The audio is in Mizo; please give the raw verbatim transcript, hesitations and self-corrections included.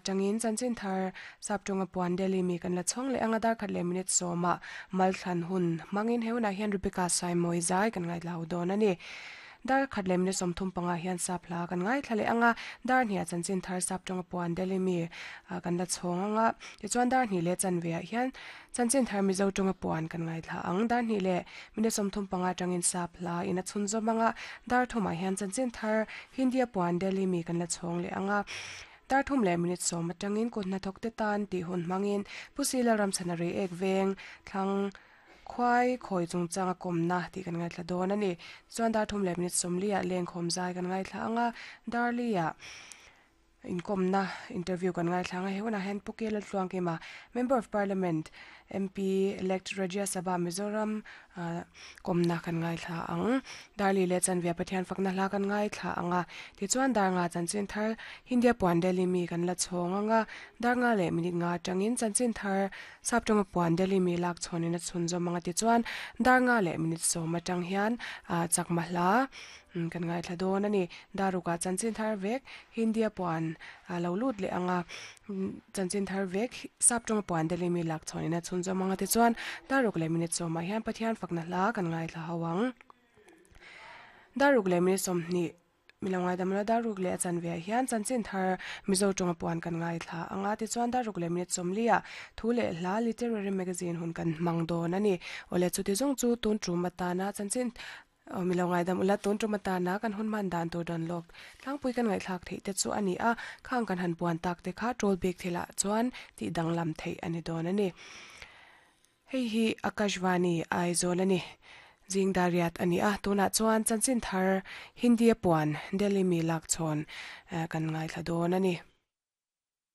atangin chanchin thar saptonga puan Delhi mi kan la chhong le anga dar khat le minute sawma malthlan hun mangin heuna hian Rebecca Saimoi zai kan ngai lau don ani dar khat le minute sawmthum panga hian sapla kan ngai thlale anga dar hnia chanchin thar saptonga puan Delhi mi kan la chhong anga ti chuan dar hni le chanve ah hian chanchin thar mizo tonga puan kan ngai thla ang dar hni le minute sawmthum panga tangin sapla ina chhunzawm anga dar thuma hian chanchin thar Hindia puan Delhi mi kan la chhong le anga dar thum le minute sawm atangin kut hnathawk te tan tih hun hmangin Pusila Ramchhanari ek veng thlang khwai khoi chungchanga kawmna tih kan ngaithla dawn ani chuan dar thum le minute sawmli ah leng khawm zai kan ngaithla anga darli ah inkawmna interview kan ngaithla anga heuna hian Pukela Tluangkima Member of Parliament M P elect Rajya Sabha Mizoram kawmna kan ngaithla ang. Darli le chanve Pathian fakna hla kan ngaithla anga tichuan dar nga chanchin thar Hindia puan Delhi mi kan la chhawng anga dar nga le minute nga atangin chanchin thar saptonga puan Delhi mi lak chhawnin a chhunzawm anga tichuan dar nga le minute sawm atang hian chakma hla kan ngaithla dawn ani. Daruka chanchin thar vek Hindia puan lo lut le anga chanchin thar vek saptonga puan Delhi mi lak chhawnin a chhunzawm anga tichuan daruk le minute sawmah hian Pathian fakna hla kan ngaithla ho ang. Daruk le minute sawmhnih milongai damla daruk le chanve hian chanchin thar mizo tonga puan kan ngaithla anga tichuan daruk le minute sawmli ah thu le hla literary magazine hun kan hmang dawn ani. Awle chuti zawng chu tun tum atana chanchin milongai dam ula tun tum atana kan hun man dan tur don lawk tlangpui kan ngaihthlak theih te chu ani a khang kan han puan tak te kha troll bik thilah chuan tih danglam theih ani dawn ani. Hei hi Akashvani Aizawl ani. Jing dariat ani a tuna chuan chanchin thar Hindia puan Delhi mi lak chhawn kan ngaithla dawn ani.